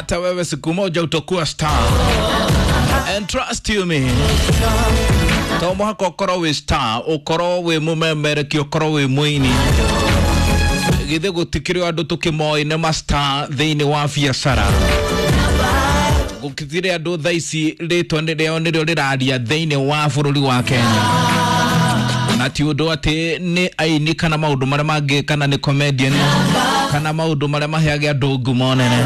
Hata wewe siku moja utakuwa star. And trust you me, to mũhaka ũkorwo wĩ star, ũkorwo wĩ mũmemereki, ũkorwo wĩ mũini. Githĩ gũtikĩrĩ o andũ tũkĩmoĩ nĩ mastar thĩinĩ wa biacara? Gũtirĩ andũ thaa ici rĩtwa rĩao nĩrĩo rĩraria thĩinĩ wa bũrũri wa Kenya, na ti ũndũ atĩ nĩ aini kana maũndũ marĩa mangĩ, kana nĩ comedian, kana maũndũ marĩa maheage andũ ngumo nene.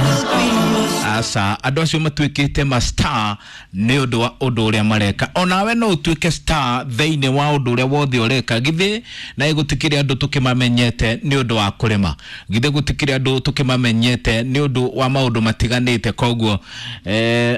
Aca, andũ acio matuĩkĩte ma star nĩ ũndũ wa ũndũ ũrĩa mareka. Onawe no ũtuĩke star thĩinĩ wa ũndũ ũrĩa wothe ũreka. Githĩ na gũtikĩrĩ andũ tũkĩmamenyete nĩ ũndũ wa kũrĩma? Githĩ gũtikĩrĩ andũ tũkĩmamenyete nĩ ũndũ wa maũndũ matiganĩte? Koguo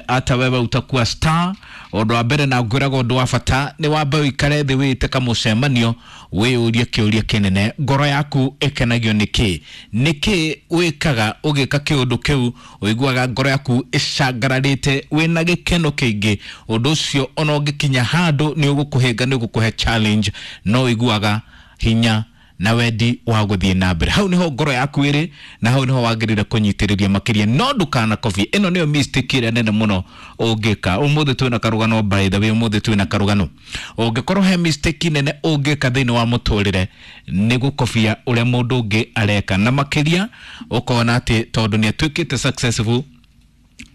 hata wewe utakuwa star. Ũndũ wa mbere na ngwĩraga ũndũ wa bata nĩ wambe ũikare thĩ, wĩte kamũcemanio, wĩyũrie kĩũria kĩnene: ngoro yaku ĩkenagio nĩ kĩ? Nĩ kĩ wĩkaga ũgĩka kĩũndũ kĩu ũiguaga ngoro yaku ĩcangararĩte, wĩna gĩkeno kĩingĩ? Ũndũ ũcio ona ũngĩkinya handũ nĩ ũgũkũhĩnga, nĩ ũgũkũhe challenge, no ũiguaga hinya na wendi wa gũthiĩ na mbere. Hau niho ngoro yaku ĩrĩ, na hau niho wagĩrĩire kũnyitĩrĩria makĩria. No ndũkanakobie. Ĩno nĩyo mistake ĩrĩa nene mũno ũngĩka. Ũmũthĩ twĩna karũgano, by the way, ũmũthĩ twĩna karũgano. Ũngĩkorwo he mistake nene ũngĩka thĩinĩ wa mũtũrĩre, nĩ gũkobia ũrĩa mũndũ ũngĩ areka, na makĩria ũkona atĩ tondũ nĩ atuĩkĩte successful,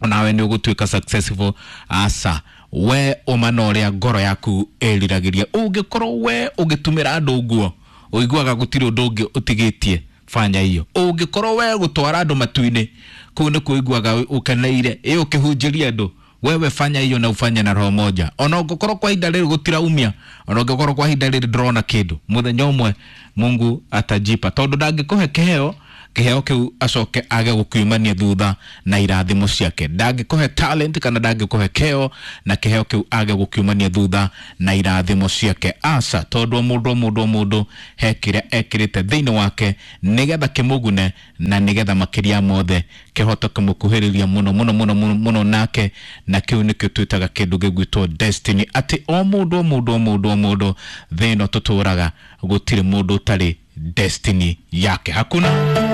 onawe nĩ ũgũtuĩka successful. Aca, we ũma na ũrĩa ngoro yaku ĩriragĩria. Ũngĩkorwo we ũgĩtumĩra andũ nguo ũiguaga gũtirĩ ũndũ ũngĩ ũtigĩtie, fanya hiyo. Ũngĩkorwo we gũtwara andũ matu-inĩ kũu nĩkuo ũiguaga ũkeneire, ĩ ũkĩhunjĩria andũ, wewe fanya hiyo na ufanye na roho moja. Ona ũngĩkorwo kwa ihinda rĩrĩ gũtiraumia, ona ũngĩkorwo kwa ihinda rĩrĩ ndũrona kĩndũ, mũthenya ũmwe Mungu atajipa, tondũ ndangĩkũhe kĩheo, kĩheo kĩu acoke age gũkiumania thutha na irathimo ciake. Ndangĩkũhe talent kana ndangĩkũhe kĩheo na kĩheo kĩu age gũkiumania thutha na irathimo ciake. Aca, tondũ o mũndũ, o mũndũ, o mũndũ he kĩrĩa ekĩrĩte thĩinĩ wake nĩgetha kĩmũgune, na nĩgetha makĩria mothe kĩhote kũmũkuhĩrĩria mũno mũno mũno mũno mũno nake, na kĩu nĩkĩo twĩtaga kĩndũ gĩgwĩtwo destiny, atĩ o mũndũ, o mũndũ, o mũndũ, o mũndũ thĩ ĩno tũtũraga, gũtirĩ mũndũ ũtarĩ destiny yake. Hakuna.